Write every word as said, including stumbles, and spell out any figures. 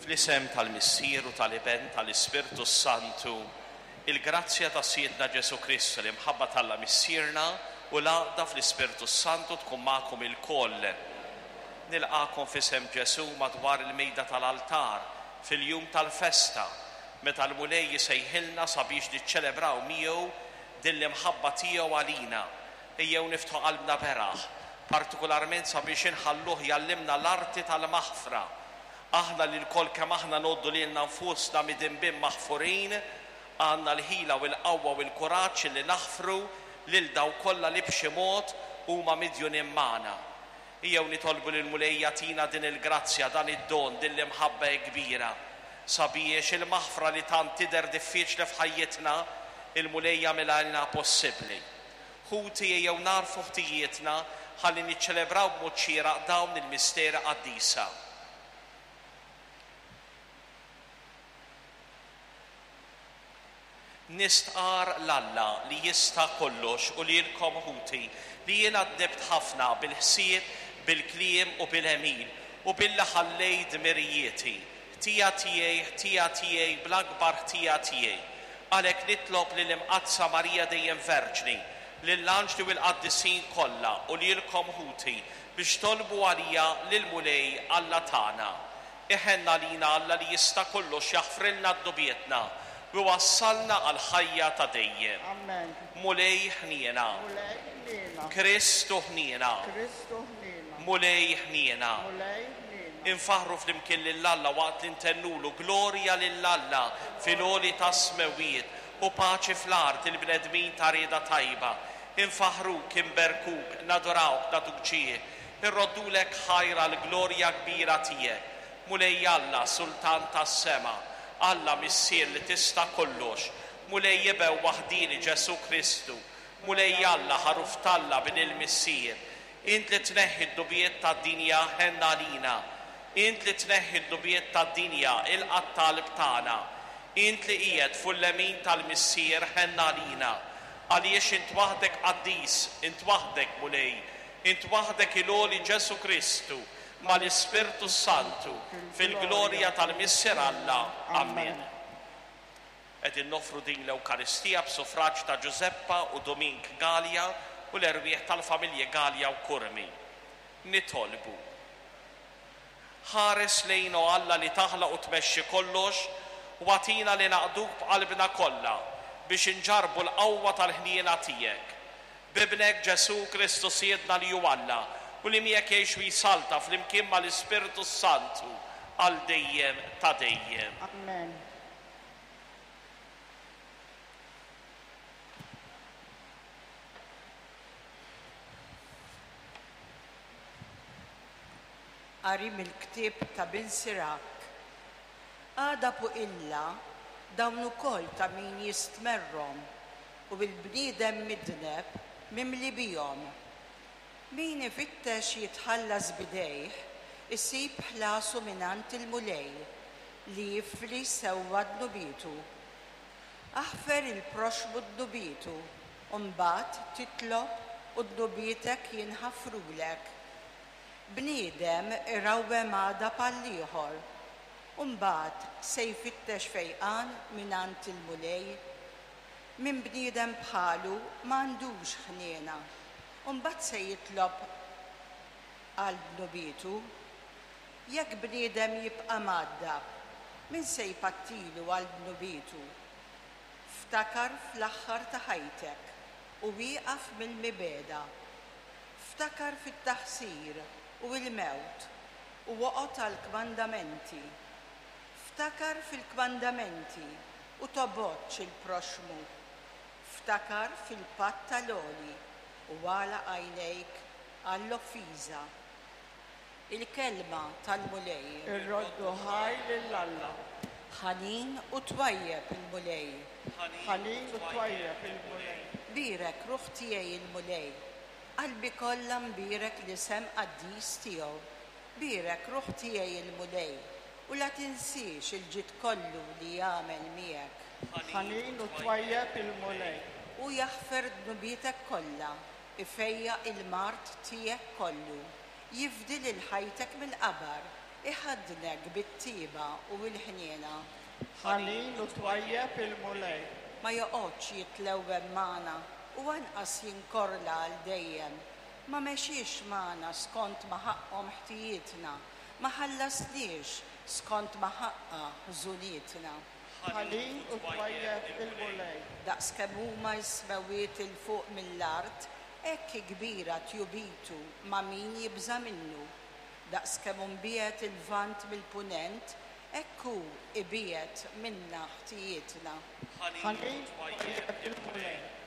Fl-isem tal-Missier u tal-Iben tal-Ispirtu Santu, il-grazzja ta' Sidna Ġesu Kristu, l-imħabba t'Alla Missierna u l-għaqda fl-Ispirtu Santu tkun magħkom ilkoll. Nilqagħkom f'isem Ġesu madwar il-mejda tal-altar fil-jum tal-festa, meta l-Mulej jisejħilna sabiex niċċelebraw miegħu din l-imħabba tiegħu għalina. Ejjew niftħu qalbna beraħ, partikolarment sabiex inħalluh jgħallimna l-arti tal-maħfra. Aħna li lkoll kemm aħna ngħoddu lilna nfusna midinbin maħfurin, għandna l-ħila u l-qawwa u l-kuraġġ li naħfru lil dawk kollha li b'xi mod huma midjunin magħna. Ejjew nitolbu lil Mulej jagħtina din il-grazzja, dan id-don, din l-imħabba kbira, sabiex il-maħfra li tant tidher diffiċli f'ħajjitna, il-Mulej jagħmilha possibbli. Ħuti, ejjew nagħrfu ħtijietna ħalli niċċelebraw b'mod xieraq dawn il-misteri qaddisa. Nistqar 'l Alla li jista' kollox u lilkom ħuti li jiena dnibt ħafna bil-ħsieb, bil-kliem u bil-għemil u billi ħallejt dmirijieti. Ħtija tiegħi, ħtija tiegħi, bl-akbar ħtija tiegħi. Għalhekk nitlob lil Imqaddsa Marija dejjem Verġni, lill-anġli u l-qaddisin kollha u lilkom ħuti biex tolbu għalija lill-Mulej Alla tagħna. Iħenn għalina Alla li jista' kollox, jaħfrilna dnubietna u wassalna għal ħajja ta' dejjem. Amen. Mulej ħniena. Mulej ħniena. Kristu ħniena. Kristu ħniena. Mulej ħniena. Mulej ħniena. Infaħru flimkien lil Alla waqt li ntennulu glorja lil Alla fil-għoli tas-smewwiet u paċi fl-art il-bnedmin ta' rieda tajba. Infaħruk, inberkuk, nadurawk, nagħtuk ġieħ, irroddulek ħajra l-glorja kbira tiegħek. Mulej Alla, Sultan tas-sema, Alla Missier li tista' kollox, Mulej Iben waħdieni Ġesu Kristu, Mulej Alla ħaruf t'Alla bin il-Missier, int li tneħħi d-dnubiet tad-dinja ħenn għalina, int li tneħħi d-dnubiet tad-dinja ilqa' t-talb tagħna, int li qiegħed fuq l-lemin tal-Missier ħenn għalina, għaliex int waħdek qaddis, int waħdek Mulej, int waħdek il-għoli Ġesu Kristu, mal-Ispirtu Santu, fil-glorja tal-Missier Alla. Amen. Qegħdin noffru din l-Ewkaristija b'suffraġġ ta' Giuseppa u Domink Galea u l-erwieħ tal-familji Galea u Curmi. Nitolbu. Ħares lejn o Alla li taħlaq u tmexxi kollox u agħtina li naqduk b'qalbna kollha biex inġarbu l-qawwa tal-ħniena tiegħek. B'Ibnek Ġesu Kristu Sidna li hu Alla u li miegħek jgħix u jsalta flimkien mal-Ispirtu Santu għal dejjem ta' dejjem. Amen. Qari mill-ktieb ta' Bin Sirak. Għadab u qilla dawn ukoll ta' min jistmerrhom u bil-bniedem midneb mimli bihom. Min ifittex jitħallas bidejh, isib ħlasu mingħand il-Mulej li jifli sewwa dnubietu. Aħfer il-proxmu dnubietu, u mbagħad titlob u dnubietek jinħafrulek. Bniedem irawwem għadab għall-ieħor, u mbagħad se jfittex fejqan mingħand il-Mulej. Min bniedem bħalu m'għandux ħniena, u mbagħad se jitlob għal dnubietu. Jekk bniedem jibqa' mgħaddab, min se jpattilu għal dnubietu? Ftakar fl-aħħar ta' ħajtek u wieqaf mill-mibegħda. Ftakar fit-taħsir u l-mewt u oqgħod għall-kmandamenti. Ftakar fil-kmandamenti u tobgħodx il-proxmu. Ftakar fil-patt tal-għoli u għalaq għajnejk għall-offiża. Il-kelma tal-Mulej. Irroddu ħajr lil Alla. Ħanin u twajjeb il-Mulej. Ħanin u twajjeb il-Mulej. Bierek ruħ tiegħi il-Mulej. Qalbi kollha mbierek l-isem qaddis tiegħu. Bierek ruħ tiegħi il-Mulej u la tinsiex il-ġid kollu li jagħmel miegħek. Ħanin u twajjeb il-Mulej. U jaħfer dnubietek kollha, ifejjaq il-mard tiegħek kollu, jifdi lil ħajtek mill-qabar, Iħaddnek bit-tiba u l-ħniena. Ħanin u twajjeb il-Mulej. Ma joqgħodx jitlewwem magħna u anqas jinkorla għal dejjem. Ma mexiex magħna skont ma ħaqqhom ħtijietna, ma ħallasniex skont ma ħaqqa ħżunietna. Ħanin u twajjeb il-Mulej. Daqs kemm huma s-smewwiet 'il fuq mill-art, hekk kbira tjubitu ma' min jibża' minnu. Daqs kemm hu mbiegħed il-Lvant mill-Punent, hekk hu ibiegħed minna ħtijietna. Ħanin u twajjeb il-Mulej.